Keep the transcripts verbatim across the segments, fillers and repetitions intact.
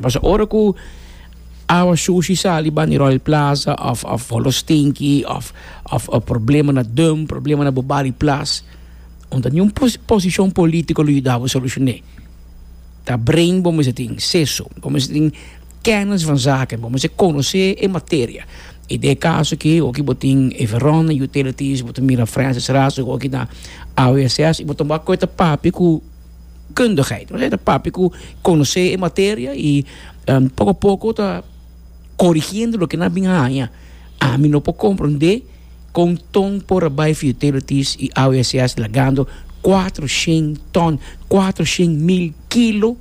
Paso ora ku awa sushi sali bani Royal Plaza of of holostinki of of of problema na dump, problema na Bobari Plas. Omdat ningun pos posishon polítiko lo yuda solushoná. Ta brain bo mester tin seso, bo mester tin kennis van zaken, bo mester konosé e materia. I den kaso aki, aki bo tin Everon Utilities, bo tin mira Francis Ras, aki na A W S S, i bo tin ku papia ku kundigheid. Bo ta papia ku konosé e materia i um, poko poko ta korigiendo loke nan a bin haña. Ami no por komprondé kon ton por bai Utilities i A W S S lagando kuatershen ton, kuatershen mil kilo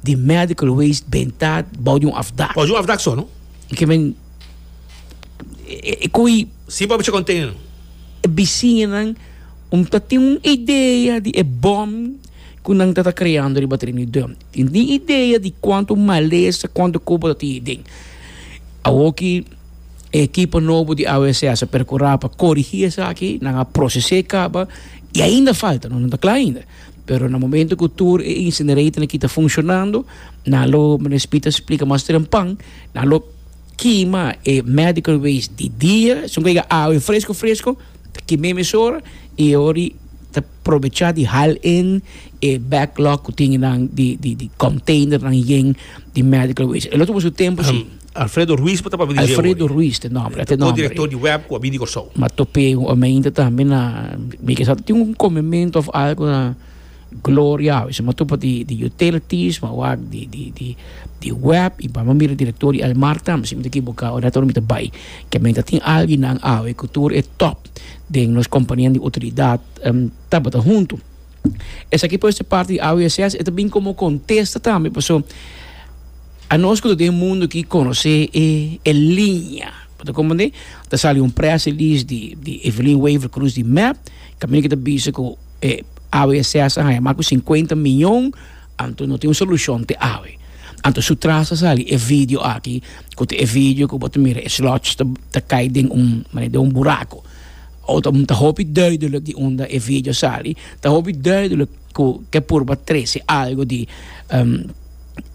di medical waste bentá bou di un afdak. Pode um afdak só, não? Ke men e, e, koi Si pa container. Bisiñanan um ta tin un idea di e bom ku nan ta kreando riba tereno di dump. Tin ni idea di kuantu malesa, kuantu kubo tin den. Awoki ekipo nobo di A W S S a perkurá pa korigí esaki, nan a prosesá kaba i ainda falta, no ta kla ainda. Pero na momento ku tur e incinerator aki ta funshonando, nan lo respita splika mas trempan, nan lo kima e medical waste di dia, son kaya awa fresku fresku, kima mesora i ori ta aprovechá di haal in e backlog ku tin nan di di di container nan yen di medical waste. E otro su tempu si. Um, Alfredo Ruiz pa pa Alfredo Ruiz, e nòmber, e O nòmber. Direktor di W E B ku a bini Kòrsou. Ma top'é ainda tambe na mi ke tin un komementu of algo na Gloria, se ma topa di di utilities, ma wak di di di di W E B i pa mira direktor di Almar tambe, si mi ta ekivoká, ora mi ta bai. Ke men tin alguien nan awe ku tur e top den nos kompania di utilidat um, tabata huntu. Esaki por parti di A W S S e tambe komo kontesta tambe, paso anos ku den mundu ku konosé e, e liña. Pa komprondé? Ta sali un press release di, di Evelyn Wever Croes di M E P, kaminda ku ta bisa ku eh, A W S S a mas ku sinkuenta mion, anto no tin un solushon te awe. Anto su tras sali e video aki, ku e video ku bo ta mira e sludge ta, ta kai den un, maar den un buraco. O ta ta hopi duidelijk di unda e video sali, ta hopi duidelijk ku ke purba trese algo di um,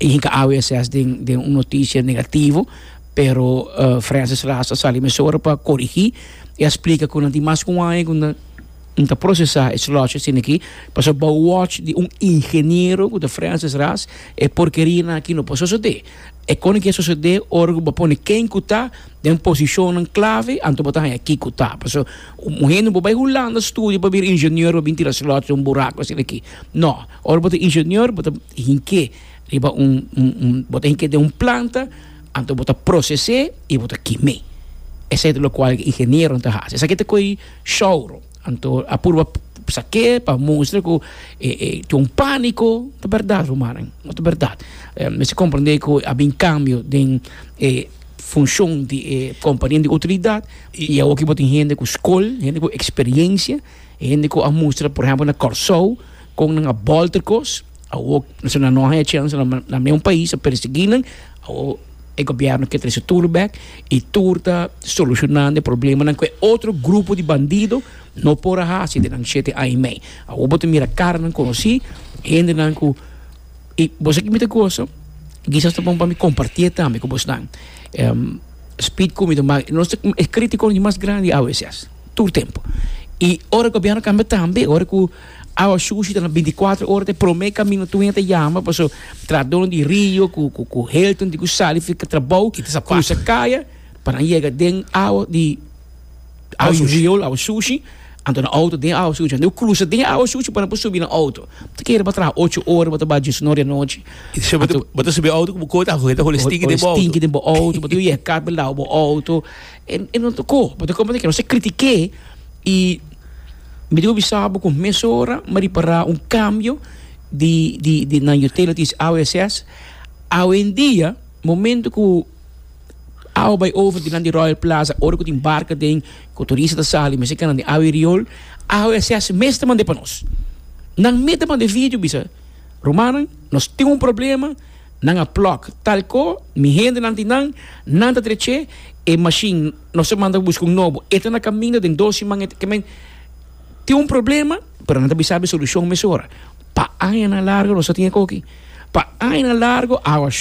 hinka A W S S den, den un notisia negativo, pero uh, Francis Ras a sali mesora pa korigí i a splika ku nan tin mas ku aña ku nan ta prosesá e sludge asina aki, paso bou watch di un ingeniero ku ta Francis Ras, e porkeria aki no por sosodé. E kon ku sosodé ora ku pone ken ku ta den posishon klave, anto bo ta haña ki ku ta. Paso un hende bo bai Hulanda studia pa bira ingeniero, bin tira sludge un buraco asina aki. No, ora bo ta ingeniero, bo ta hink'é riba un, un, un bo ta hink'é den un planta, anto bo ta proses'é i bo ta kim'é. Esei ta loke ingeniero ta hasi. Esaki ta koi shouro. Anto a purba sak'é pa mustra ku eh, eh, tin un pániko, ta berdat, ruman, no ta berdat. Eh, mester komprondé ku a bin kambio den eh, funshon di eh, kompania di utilidat i awor ku tin hende ku skol, hende ku eksperensia, hende ku a mustra, por ehèmpel, na Kòrsou, ku nan a bolter kos, awor nan no tin chèns na na ningun pais a persiguí nan, awor e gobièrnu ke trese tur bèk i tur ta solushonando e problemanan ku otro grupo di bandido no por a hasi den nan shete aña i mei. Awor bo ta mira karanan konosí, hendenan ku i bo sa ki mi ta gosa, kisas ta bon pa mi kompartí tambe ku boso. Um, speed ku mi nos e krítiko di mas grandi A W S S, tur tempu. I ora ku gobièrnu kambia tambe, ora ku awa sushi ta bintikuater ora te promé kaminda tur hende yama, paso trahadó di Rio ku ku ku Hilton di ku sali fika trabou, krusa kaya pa nan yega den awa di awa riool, awa sushi, anto na outo den awa sushi, anto krusa den awa sushi pa nan por subi na outo. Ta kere pa traha ocho ora, bo ta bai diesun or di anochi. Bo ta subi outo ku kota, ta hole stinky den bo outo. Stinky den bo outo, bo ta yega kabel bo outo. En en no toko, bo ta komprondé ku nos a kritik'é i mi digo bisabo ku mesora mi a ripará un kambio di di di na utilities A W S S. Awendia, momento ku awa bai over dilanti Royal Plaza, ora ku tin barka den, ku turista ta sali, mester kana den awa riool, A W S S mes ta mand'é pa nos. Nan mes ta manda video bisa: "Rumannan, nos tin un problema, nan a plug tal ko, mi hendenan tin nan, nan ta drech'é, e machine nos a manda buska un nobo, e ta na kaminda den dos siman." Ke men tin un problema, pero nan ta bisa e solushon mesora. Pa añanan largu nos tin koki. Pa añanan largu, awa